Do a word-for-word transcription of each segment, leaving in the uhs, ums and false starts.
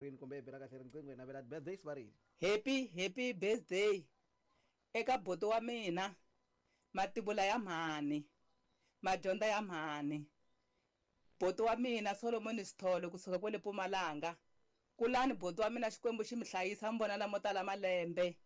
Rini kumbe hi bela kahle riqingho hi navela birthday sivarini. Happy happy birthday eka buti wa mina mativula ya mhani madyondza ya mhani buti wa mina Solomon Sithole kusuka kwale Mpumalanga kulani buti wa mina Xikwembu xi mi hlayisa mi vona lamo tala malembe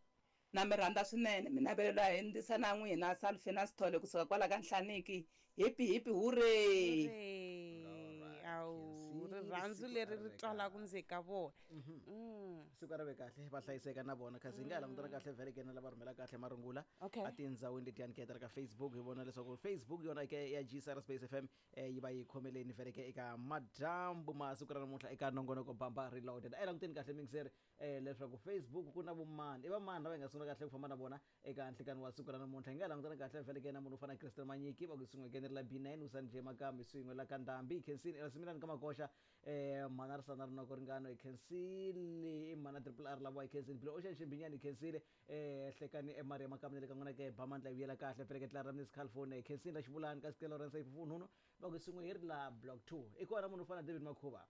na mi rhandza swinene mi navelela hi ndzisa na n'wina Salfina Sithole kusuka kwala ka Nhlaniki hipi hipi hurray. Hooray. Awu Khensile, rirhandzu siku leri a ri ri twalaka kahle. ndzeni ka vona Mm. Siku a ri ve kahle, va hlayiseka na vona kasi hi nga ha langutana kahle vhele ke na lava rhumela kahle marungula Okay. a tindhawini letiyani ke ta ri ka Facebook. Hi vona leswaku Facebook yona ke ya G S R Space F M eh, yi va yi khomeleni vhele ke eka madyambu ma siku ra namuntlha eka nongonoko Bamba Reloaded. A hi languteni kahle mingiseri eh, leswaku Facebook ku na vomani, i vamani lava hi nga sungula kahle ku famba na vona eka nhlikani wa siku ra namuntlha. Hi nga ha langutana kahle vhele ke na munhu u fana na Christian Manyiki, va ku swin'we ke ni ri la B nine Usanje Makambi swin'we la ka Ndhambi Khensini Erasimilani ka Makoxa eh mhana ri sana rinoko ringano hi khensile i mhana Triple R lava hi khensile Bilo Ocean Ximbinyani hi khensile eh hlekani eMaria Makambi na le ka n'wina ke Bamandla hi vuyela kahle vhele ke tlara Miss California hi khensile la Xivulani ka Sikelo Lawrence Ifufunhunu va ku swin'we hi ri la block two i kona munhu u fana na David Makhuva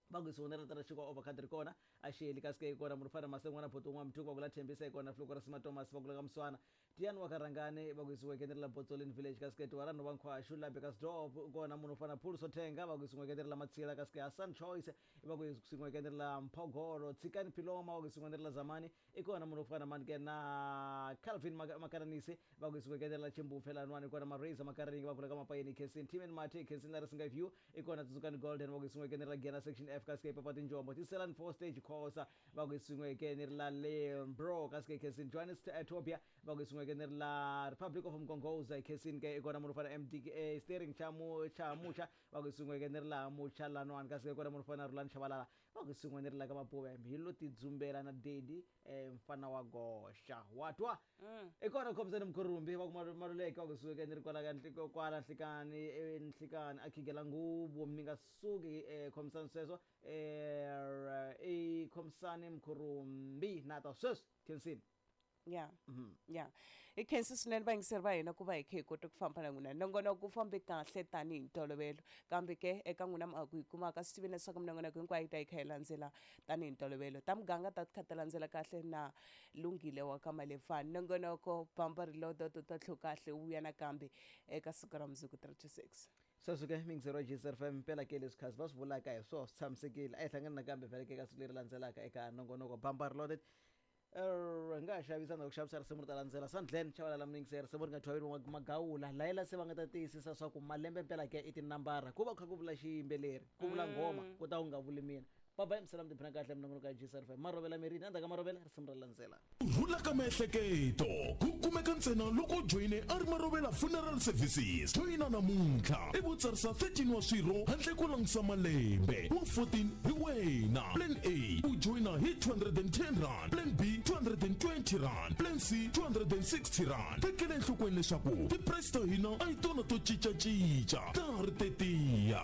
va ku swin'we na ra xikwa over khadi ri kona a xeli kasi ke kona munhu fana masen'wana boto un'wana muthuku va ku la Thembisa hi kona Fluko ra Sima Thomas va ku la ka Muswana Tiyani wa ka Rhangani va ku yisiweke ni ri la Botsolini village kasi ke Tiwarani va Nkhwaxu la Bekasdorp kona munhu fana Phuluso Thenga va ku yisiweke ni ri la Matsila kasi ke Hassan Choice va ku yisiweke ni ri la Mphogolo Tshikani Philoma va ku yisiweke ni ri la Zamani i kona munhu fana mani ke na Calvin Maka- Makaranisi va ku yisiweke ni ri la Chimbupfe lanwani i kona Marisa Makaringi va ku la ka Mapayeni Khensini Timen Mate Khensini la Risinga View i kona Tsutsukani Golden va ku yisiweke ni ri la Giyana section F kasi ke Papa Tinjombo Tiselani four stage Khosa va ku yisiweke ni ri la Lembro kasi ke Khensini Johannes eh, Tobia va ku yisiweke ni ri la Republic of Mkongoza Khensini ke i kona munhu fana M D eh, Steering Chamu Chamucha va ku yisiweke ni ri la Mucha lanwani kasi ke kona munhu fana Rulani Chabalala va ku yisiwe ni ri la ka Mapuve hi lo tidzumbela na Dedi eh, mfana wa goxa wa twa i kona Khomisani Mkhurumbi va ku Malu- Maluleke va ku yisiweke ni ri kwala ka Nhliko- kwala Nhlikani eh, Nhlikani a khigela nguvu mi nga suki eh, khomisani sweswo eh, i Khomisani Mkhurumbi na ta sweswi Khensini. Ya ya hi khensa swinene vayingiseri va hina ku va hi kha hi kota ku famba na n'wina. Nongonoko wu fambe kahle tanihi ntolovelo, kambe ke eka n'wina mi ku hi kumaka swi tiveni leswaku minongonoko hinkwayo yi ta yi kha yi landzela tanihi ntolovelo. Ta muganga ta kha ta landzela kahle na Lunghile wa ka Malefani. Nongonoko Bamba Reloaded ta tlhu kahle wu vuya nakambe eka siku ra mundzuku three to six. Sweswo ke mingiseri wa G S R F M mpela ke leswi khasi va swi vulaka hi swoho swi tshamisekile. A hi hlangani nakambe vhele ke eka siku leri landzelaka eka nongonoko Bamba Reloaded. Er, hi nga ha xavisa na ku xavisa risimu ri ta landzela Sandlen Chavalala mingiseri risimu ri nga thwaveli Magawula layela se va nga ta tiyisisa swa ku malembe mpela ke i tinambara ku va ku kha ku vula xiyimbeleri ku vula nghoma ku ta ku nga vuli mina baba misala mi tiphina kahle minongonoko ya G S R F M marovela mirini endzhaku ka marovela risimu ra landzela. Rhula ka miehleketo ku kumeka ntsena loko u joyine a ri Marovela Funeral Services. Joyina namuntlha i vo tsarisa thirteen wa swirho handle ko langutisa malembe wa fourteen hi wena. Plan A u joyina hi two hundred and ten rand, plan B two hundred and twenty rand, plan C two hundred and sixty rand. Tekela enhlokweni leswaku ti-price ta hina a hi tona to cincacinca ta ha ri tetiya.